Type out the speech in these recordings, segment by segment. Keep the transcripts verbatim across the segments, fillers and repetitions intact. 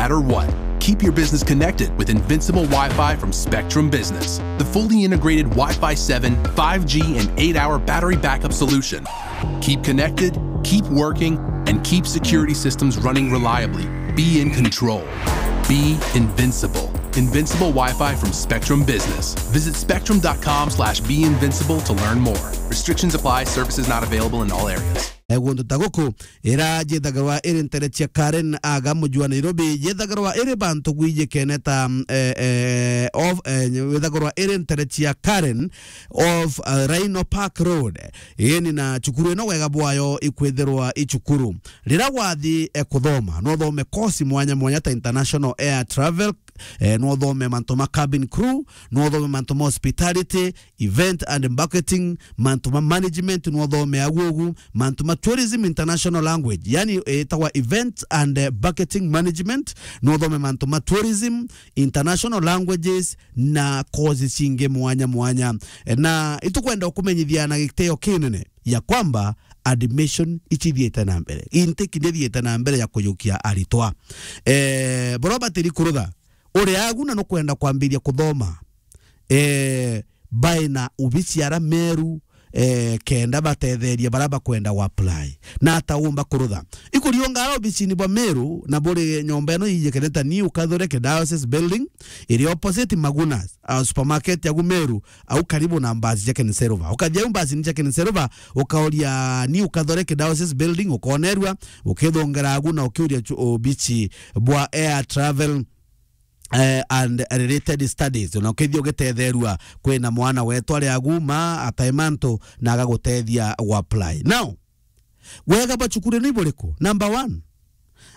matter what. Keep your business connected with Invincible Wi-Fi from Spectrum Business, the fully integrated Wi-Fi seven, five G, and eight-hour battery backup solution. Keep connected, keep working, and keep security systems running reliably. Be in control. Be invincible. Invincible Wi-Fi from Spectrum Business. Visit spectrum dot com slash be invincible to learn more. Restrictions apply. Services not available in all areas. Eh, guntu ta guku, ira jithagirwa iri ntere cia Karen aga muji wa Nairobi, jithagirwa iri bantu gwijikene ta, mm, eh, eh, of, eh, withagirwa iri ntere cia Karen of, eh, Rhino Park Road. Ini na cukuru ino wega bwayo ikwithirwa i cukuru. Rira wathi, eh, kuthoma, no uthome course mwanya mwanya ta international air travel, eh, no uthome mantu ma cabin crew, no uthome mantu ma hospitality, event and marketing, mantu ma management, no uthome agu ugu, mantu ma tourism international language, yani, eh, itagwa event and, eh, marketing management, no uthome mantu ma tourism, international languages na courses cingi mwanya mwanya. Eh, na itukwenda ukumenyithia na gitio kinene ya kwamba admission ichithiite na mbere. Intake ndithiite na mbere ya kujukia aritwa. Eh, boro batiri kurutha. Uri agu na nukwenda kwambiria kuthoma, eh, bae na ubici ara Meru, eh, kenda batetheria bara bakwenda wa apply. Na ata umba kurutha. Ikuriunga ara ubicini bwa Meru na buri nyomba ino iyikene ta New Catholic Diocese Building, iri opposite Magunas, ah, supermarket ya Meru, au karibu na mbasi cia Ken Silver. Ukathia au mbasi cia Ken Silver, ukauria New Catholic Diocese Building, ukonerua, ukithongera agu na ukiuria chu-, ubici bwa air travel, eh, and related studies. Na ukithia ugitetherua, kwina mwana wetu ari agu ma atae mantu na agagutethia gu apply. Now, wega bwa cukuru ni buriku? Number one,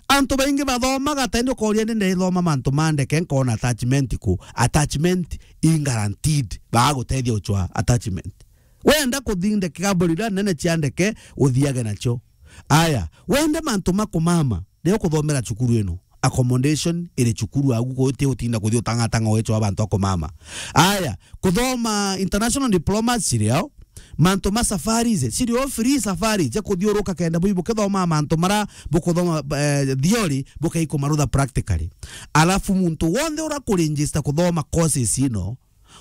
antu baingi bathomaga ta indi ukoria ni ndithoma mantu ma ndeke, nkona attachment ku? Attachment i guaranteed, bagagutethia uchwa attachment. Wenda kuthi ndeke, kambuni iria nene cia ndeke, uthiage nacio. Aya, wenda mantu ma kumama, rio kuthomera cukuru ino. Accommodation iri cukuru agu, guti utinda kuthi utangatanga wecho wa bantu a kumama. Aya, kuthoma international diplomas cirio, mantu ma safaris, cirio free safaris, cia kuthiuruka kenda bui bukithoma mantu mara bukuthoma, eh, theory, bukaikumarutha practically. Alafu muntu wonthe ura kuregister kuthoma courses ino,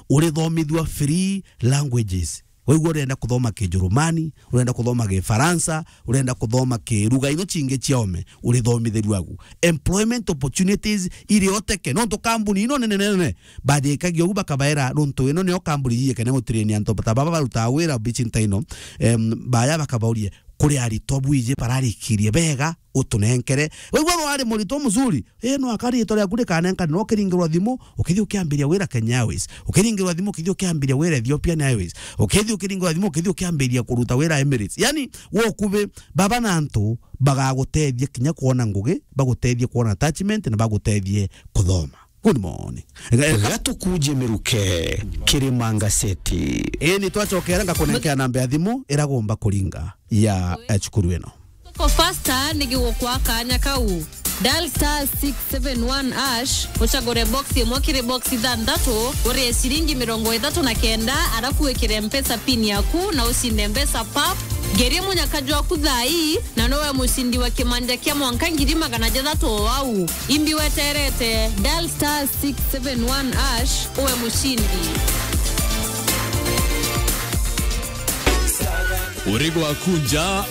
urithomithua free languages. Waigua urenda kuthoma Kijurumani, urenda kuthoma Gifaransa, urenda kuthoma kiruga ino cingi cia ome, urithomithirua agu. Employment opportunities iri oteke, nontu kambuni ino nene nene, bathikagia ugu bakabaira, nontu ino nio kambuni yiyekene gutirenia antu ta baba barutaa wira bici nta ino, em, baya bakabauria, kuri aritwa bwiji bararikirie bega, utunenkere. Waigua rwari muritwa muzuri, ii, no aka riitwa riaku rikanenkanirwa ukiringirwa thimu, ukithia ukiambiria wira Kenya Airways. Ukiringirwa thimu, ukithia ukiambiria wira Ethiopian Airways. Ukithia ukiringirwa thimu, ukithia ukiambiria kuruta wira Emirates. Yani, wi ukubi, baba na antu bagagutethia kinya kwona ngugi, bagutethie kwona attachment, na bagutethie kuthoma. Good morning. Gatukuje miruke, Kirima Ngaseti. Ii, ni twacokera ngakunenkea namba ya thimu iragomba kuringa ya, eh, cukuru ino. Tuko faster nigigukwa kanya kau. Dial star six seven one hash, ucagure box imwe kiri box ithanthatu, urie ciringi mirongo ithatu na kenda, arafu wikire Mpesa pin yaku na ucinde mbeca pap. Ngerie munyaka jwaku thaa ii, na nowe mucindi wa kimanja kia mwanka ngiri magana jathatu o au. Imbi weterete, dial star six seven one hash, uwe mucindi. Uri gwaku nja.